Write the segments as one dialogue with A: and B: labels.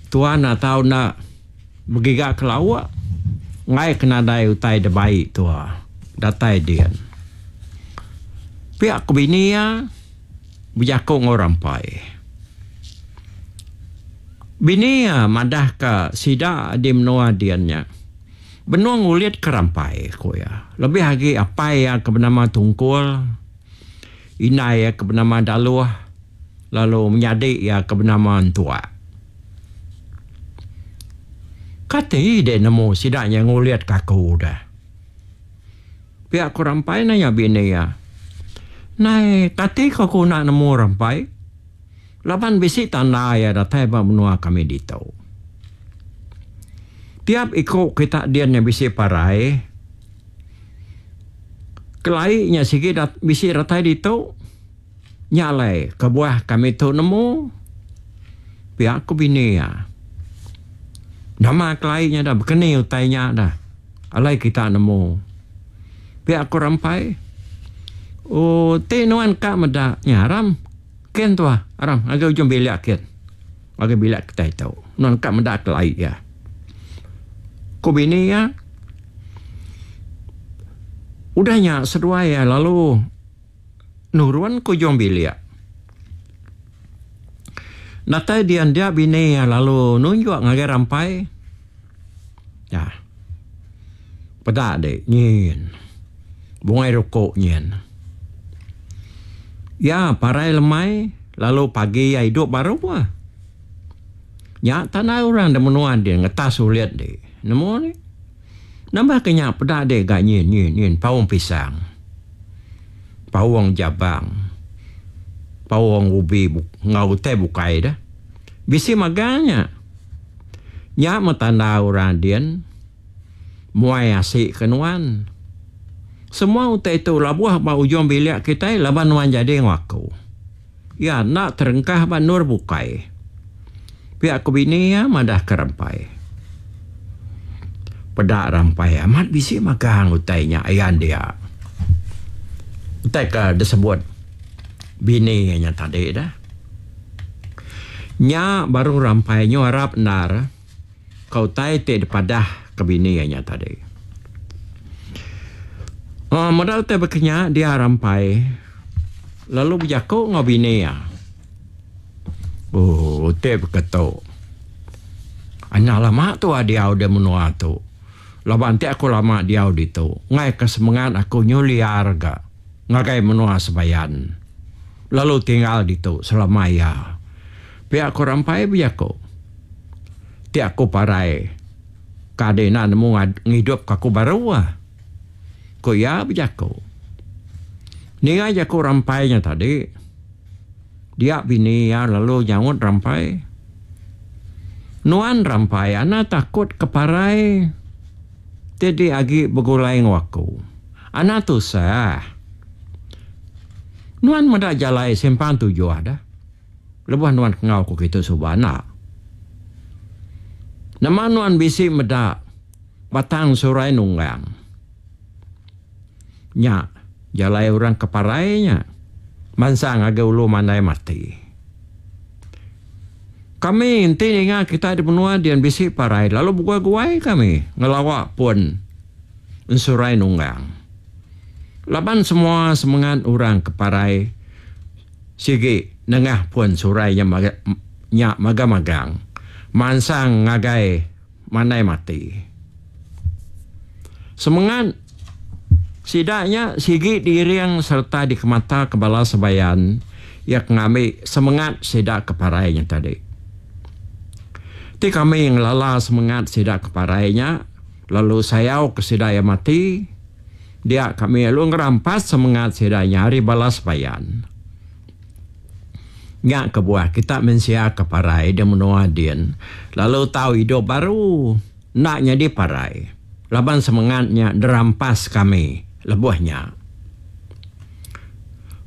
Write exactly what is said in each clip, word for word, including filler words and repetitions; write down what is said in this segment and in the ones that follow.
A: Tua enda tau enda begiga ke lauk enggai ke nadai utai dibai tua datai din. Pia ku bini iya bejaku enggau Rampai. Bini iya madah ka sida di menua din nya benung ngulit ke Rampai, ku iya. Lebih agi apai iya ke benama Tungkul, indai iya ke benama Daluh lalu menyadi iya ke benama Entuak. Kati dek nemu sida nya ngulit ka aku deh? Pia ku Rampai nanya bini iya. Nai, kati ko aku enda nemu Rampai? Laban bisi tanda iya datai ba menua kami ditu. Tiap iku kita din nya bisi parai. Kelai nya sigi bisi datai ditu. Nya alai kebuah kami tu nemu. Pia ku bini iya. Nama kelai nya dah bekeni utai nya dah alai kita nemu. Pia ku Rampai. Ooh ti nuan ka meda nya aram kin tuah aram ngagai ujung bilik kin ngagai bilik kitai tu nuan ka meda kelai iya. Ku bini iya. Udah nya seduai iya lalu nurun ke ujung bilik. Datai dian dia bini iya lalu nunjuk ngagai Rampai. Ya. Peda dik nyin. Bungai rukuk nyin. Iya parai lemai lalu pagi iya idup baru ah. Nya tanda orang da menua din ngetas ulit dik. Nemu dik. Nambah ke nya peda dik ga nyin nyin nyin paung pisang. Paung jabang. Paung ubi enggau utai bukai deh. Bisi magang nya. Nya meh tanda orang din muai asi ke nuan. Semua utai tu labuh ba ujung bilik kitai laban nuan jadi enggau aku. Iya enda terengkah ba endur bukai. Pia ku bini iya madah ke Rampai. Peda Rampai amat bisi magang utai nya ayan dia. Utai ke disebut bini iya nya tadi dah. Nya baru Rampai nyu arap endar ke utai ti dipadah ke bini iya nya tadi. Uhh meda utai baka nya dia Rampai lalu bejaku enggau bini iya. Ooh utai baka tu. Anak lama tua diau di menua tu. Laban enti aku lama diau ditu, enggai ka semengat aku nyu liar ga ngagai menua Sebayan. Lalu tinggal ditu selama iya. Pia ku Rampai bejaku. Ti aku parai ka adi enda nemu ngidup ka aku baru ah. Ku iya bejaku. Ninga jaku Rampai nya tadi, dia bini iya lalu nyaut Rampai. Nuan Rampai anang takut ke parai ti di agi begulai enggau aku. Anang tusah. Nuan meda jalai simpang tujuh dah. Lebuh nuan ke enggau aku kitu suba enda. Nama nuan bisi meda batang surai nunggang. Nya jalai orang ke parai nya mansang ngagai ulu mandai mati. Kami enti ninga kita di menua din bisi parai lalu beguai-guai kami ngelawa pun ensurai nunggang. Laban semua semengat orang ke parai sigi nengah pun surai nya nya magang-magang mansang ngagai mandai mati. Semengat sida nya sigi diiring sereta dikemataka bala sebayan iya ke ngambi semengat sida ke parai nya tadi. Ti kami ngelala semengat sida ke parai nya lalu sayau ke sida iya mati, dia kami lalu ngerampas semengat sida nya ari bala sebayan. Nya kebuah kita mensia ke parai di menua din lalu tau idup baru enda nyadi parai laban semengat nya derampas kami lebuh nya.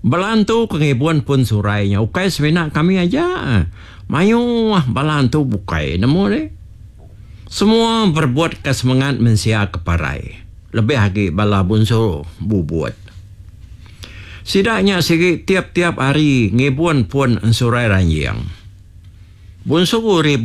A: Bala antu ke ngibun pun surai nya ukai semina kami aja. Mayuh bala antu bukai nemu deh. Semua berebutka semengat mensia ke parai lebih agi bala bunsu bubut. Sida nya sigi tiap-tiap hari ngibun pun ensurai ranjing. Bunsu ribut.